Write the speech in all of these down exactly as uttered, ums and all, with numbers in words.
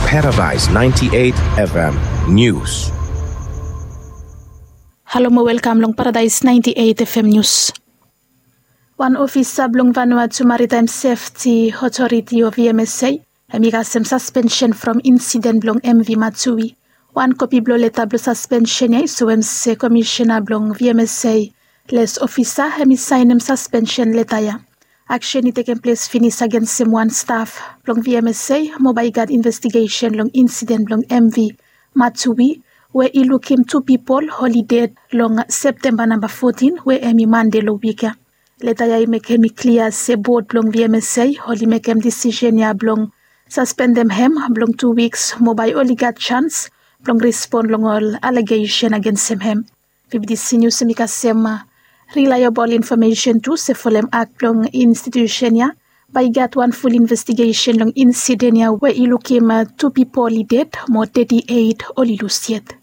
Paradise ninety-eight F M News. Halo mo welkam long Paradise ninety-eight F M News. Wan ofisa blong Vanuatu Maritime Safety Authority o V M S A, hemi kasem suspension from insiden blong M V Matsui. Wan kopi blong leta blong suspension ya i soem se komisiona blong V M S A les ofisa hemi saenem suspension leta ya. Aksen i tekem ples finis agensem wan staf blong V M S A mo bae i gat investigesen long insiden blong M V Matsui we i lukim tu pipol oli ded long Septemba namba fotin we hemi Mande long wik ya. Leta ya i mekem i klia se bod blong V M S A oli mekem disisen ya blong saspendem hem blong tu wiks mo bae oli gat sans blong respon long ol alegesen agensem hem. V B T C News hemi kasem rilaebol infomesen tu se folem akt blong institusen ya bae i gat wan ful investigesen long insiden ya we i lukim tu pipol i ded mo teti eit oli lus yet.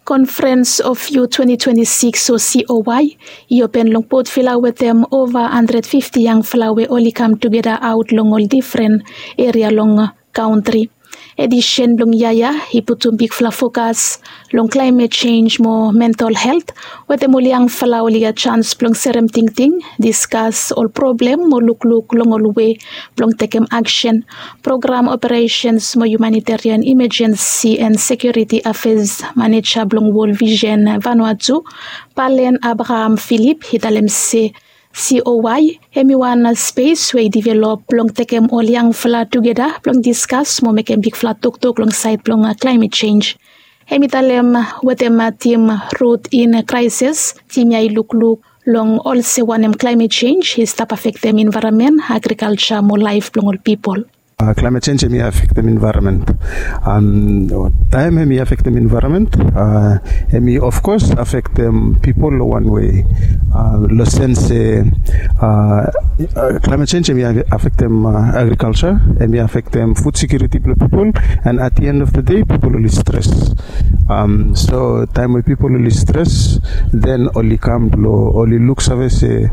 Conference of Youth twenty twenty-six o C O Y i open long Port Vila wetem ova handred fifti yangfala we oli kam tugeta aot long ol difren eria long kantri. Edisen blong yia ya i putum bigfala fokas long klaemet jenj mo mental helt wetem ol yangfala oli gat sans blong serem tingting, diskas ol problem mo lukluk long ol wei blong tekem aksen. Program operesens mo humanitarian imajensi en sekiuriti afeas maneja blong Wol Visen Vanuatu, Palen Abraham Philip i talem se C O Y hemi wan spes we i divelop blong tekem ol yangfala tugeta blong diskas mo mekem bigfala toktok long saed blong klaemet jenj. Hemi talem wetem tim Rut in Kraeses, tim ya i lukluk long olsem wanem klaemet jenj i stap afektem envaeronmen, agrikalja mo laef blong ol pipol. Klaemet jenj hemi afektem envaeronmen. Taem hemi afektem envaeronmen, hemi ofkos afektem pipol long wan wei, long sens se klaemet jenj hemi afektem agrikalja, hemi afektem fud sekiuriti blong pipol, and at the end of the day pipol oli stres. So taem we pipol oli stres, then oli kam blong oli luksave se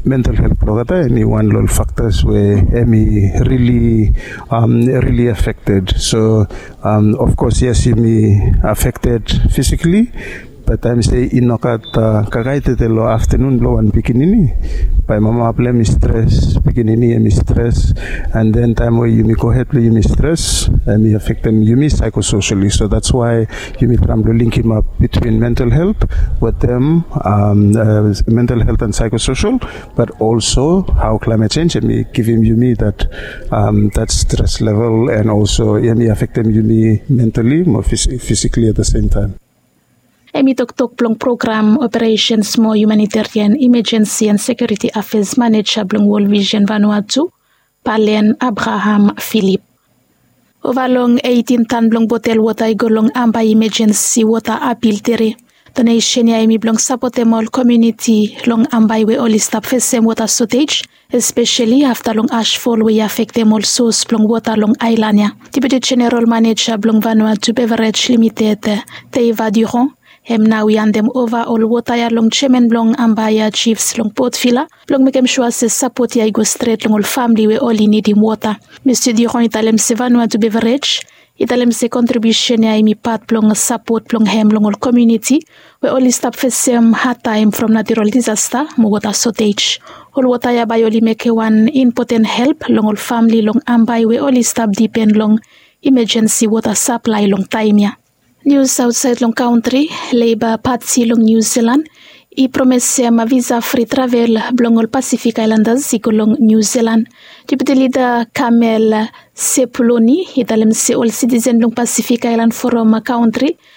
mental helt blong olgeta hemi wan long ol faktas we hemi rili rili afekted. So ofkos yes, yumi afekted fisikali, bat taem se i nogat kakaetete long aftenun blong wan pikinini, bae mama blong hem i stres, pikinini hemi stres, and then taem we yumi gohed blong yumi stres, hemi afektem yumi saekososeli. So that's why yumi traem blong linkimap bitwin mental helt wetem mental helt and saekososel, bat olso hao klaemet jenj hemi givim yumi dat stres level, and olso hemi afektem yumi mentali mo fisikali at the same taem. Hemi toktok blong program operesens mo humanitarian imajensi and sekiuriti afeas maneja blong Wol Visen Vanuatu, Palen Abraham Philip. Ova long eitin tan blong botel wota i go long Ambae imajensi wota apil tere. Donesen ya hemi blong sapotem ol komuniti long Ambae we oli stap fesem wota sotej, espeseli afta long asfol we i afektem ol sos blong wota long aelan ya. Deputi Jeneral Maneja blong Vanuatu Beverage Limited, Teiva Durand, hem nao i andem ova ol wota ya long jeaman blong Ambae ya jifs long Port Vila blong mekem sua se sapot ya i go stret long ol famle we oli nidim wota. Mista Durand i talem se Vanuatu Beverage i talem se kontribiusen ya hemi pat blong sapot blong hem long ol komuniti we oli stap fesem hadtaem from natural disasta mo wota sotej. Ol wota ya bae oli mekem wan impoten help long ol famle long Ambae we oli stap dipen long imajensi wota saplae long taem ya. Nius aotsaed long kantri. Leiba Pati long Niu Silan i promesem visa fri travel blong ol Pasifik Aelandas i go long Niu Silan. Deputi Lida Kamel Sepuloni i talem se ol sitisen blong Pasifik Aelan Foram kantri